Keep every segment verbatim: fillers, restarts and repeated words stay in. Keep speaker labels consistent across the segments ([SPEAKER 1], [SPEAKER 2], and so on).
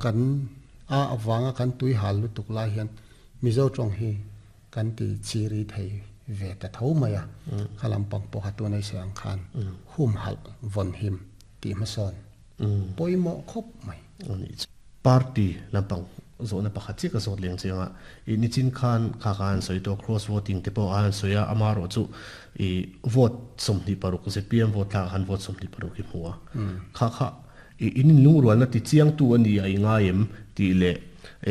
[SPEAKER 1] kan a awanga kan tui hal lu tuk lai hian Mizo tawng hi kan ti chiri thei ve ta tho mai a khalam pang pawh ha tu nei se ang khan hum hal von him ti ma sawn poimo khop mai.
[SPEAKER 2] Party lampang zo na pakhat chi ka zot leng chenga i nichin khan kha khan soi to cross voting te pawh an soya amaro chu i vote somni paruk Z P M vote tha khan vote somni paruk hi hmuwa kha kha i inin lungrual na ti chiang tu ani a inga em ti le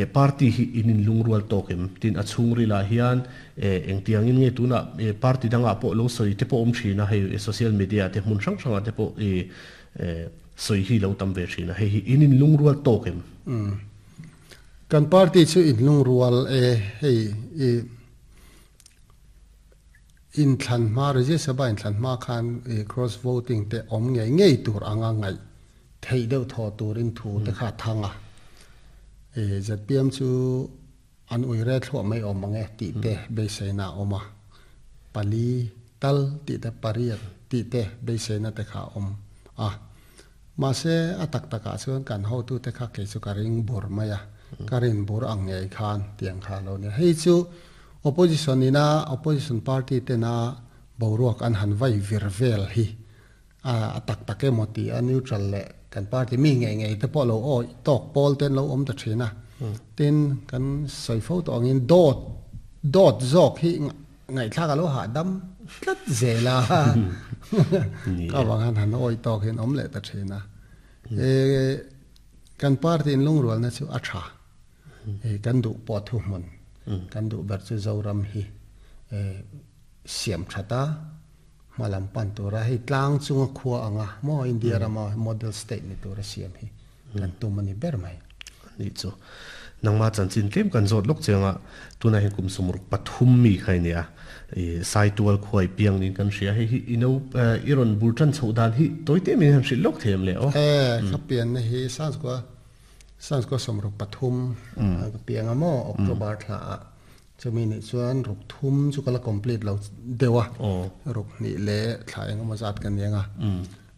[SPEAKER 2] e party hi inin lungrual tokem tin a chhungri la hian e engtiang in nge tuna e party danga pawh lo soi te pawh awm thina hei social media te hmun hrang hranga te pawh e soi hi lo tam ve thina hei hi inin lungrual tokem.
[SPEAKER 1] Kan party chu in lungrual e hei e in thlan ma Rajya Sabha in thlan ma khan e cross voting te om nge ngei tur anga ngai thei deuh thaw turin thu te kha thanga e Z P M chu an ui re thlo mai om mange ti te beiseina oma pali tal ti te pariat ti te beiseina te kha om a ma se atak taka chuan kan ho tu te kha ke chu ka ring bur maya karin bur ang nge khan tiang kha lo ne hei chu opposition ina opposition party te na boruak an han vai vir vel hi a atak take moti a neutral le kan party mi nge nge te pawh lo o tok pol ten lo om ta thina tin kan soifo to angin dot dot zok hi ngai thla ka lo ha dam tlat zela ka wang han han oi tok hin om le ta thina e kan party in lungrual na chu a tha e kan du po thu mun kan du ber chu Zoram hi e siam thata malam pan tura hei tlang chunga khua anga mo India rama model state ni tura siam hi kan tumani ber mai
[SPEAKER 2] ni chu nangma chan chin tlem kan zot lok chenga tuna hin kum sumruk pathum mi khai nia e sai tual khoi piang nin kan ria hei hi ino iron bultan chhodan hi toite min han hril lok them le o
[SPEAKER 1] e khapian na hi sans ko sans ko somruk pathum ka piang amo October thla chumi ni chuan ruk thum chu kala complete lo dewa ruk ni le thla eng ma zat kan yenga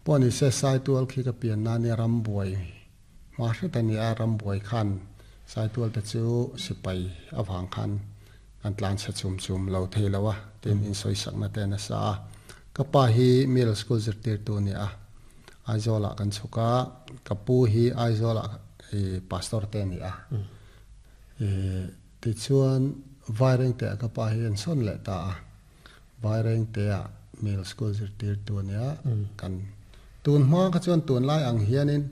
[SPEAKER 1] poni se sai tual khi ka pian na ni ram buai ma hre ta ni a ram buai khan sai tual ta chu sipai awang khan an tlan cha chum chum lo thei lawa tin in soi sak na te na sa ka pa hi middle school zirtir tu ni a Aizola kan chuka kapu hi Aizola e pastor te ni a e ti chuan vaireng te ka pa hi an son le ta a vaireng te a middle school zirtir tu ni a kan tun hma ka chuan tun lai ang hianin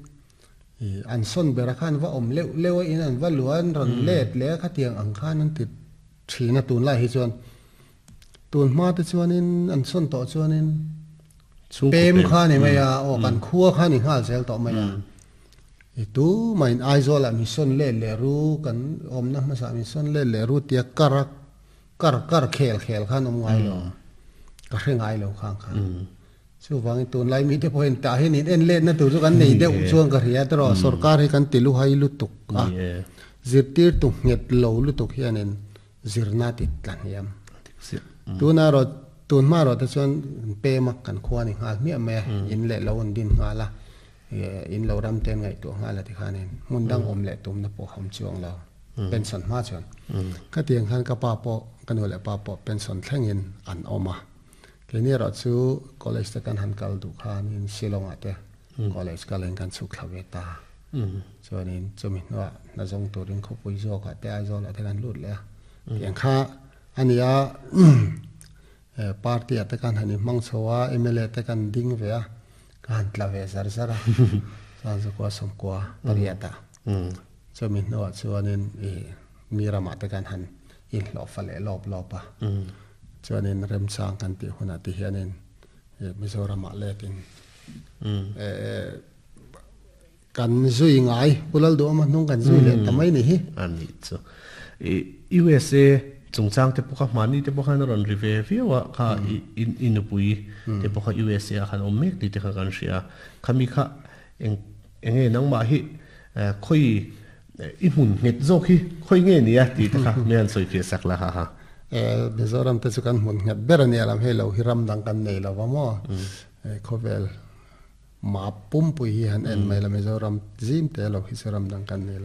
[SPEAKER 1] e an son bera khan va om leu leu in an va luan ron let le kha tiang ang khan an ti thina tun lai hi chuan tun hma te chuanin an son to chuanin pem kha ni mai a o kan khua kha ni hal zel to mai a e tu main Aizola mi son le le ru kan om na ma sa mi son le le ru tia kar kar kar khel khel khan om ngai lo ka hre ngai lo khang kha chu wang tun lai mi te point ta hin in en le na tu chu kan nei deuh chuang ka ria tro sarkar hi kan tilu hai lu tuk a zirtir tu nget lo lu tuk hianin zirna ti tlan hiam tuna ro tun ma ro te chuan pe mak kan khua ni ngal mi me in le lo on din ngala in lo ram ten ngai tu ngala ti khanin mun dang om le tum na po kham chuang lo pension ma chuan ka tiang khan ka pa po kan le pa po pension thlengin an oma ke ni ro chu college te kan han kal du khan in Shillong ate college ka leng kan chuk thlawe ta chuanin chumi no na jong turin khopui zo ka te Aizawl ate kan lut le tiang kha ania party ate kan hani mang chowa M L A te kan ding ve a kan tlave zar zara san zo kwa som kwa pariata chumi no chuanin e mirama te kan han in lo fale lop lopa chuanin remchang kan ti huna ti hianin Mizoram ah letin e kan zui ngai pulal do ma nung kan zui le tamai ni hi
[SPEAKER 2] ani chu e U S A chungchang te pawh kha hmani te pawh khan a rawn ri ve viau a kha in inupui te pawh kha U S A khan awm mek ti te kha kan hria khami kha eng enge nangmah hi khoi i hmun nghet zawk hi khoi nge ni a ti te kha me an sawi fiah sak la ha ha
[SPEAKER 1] e Mizoram te chu kan hmun nghet ber ani alam hei lo hi ram dang kan nei lo wa maw e khawvel ma pum pui hi han en mai la Mizoram zim te lo hi chu ram dang kan nei.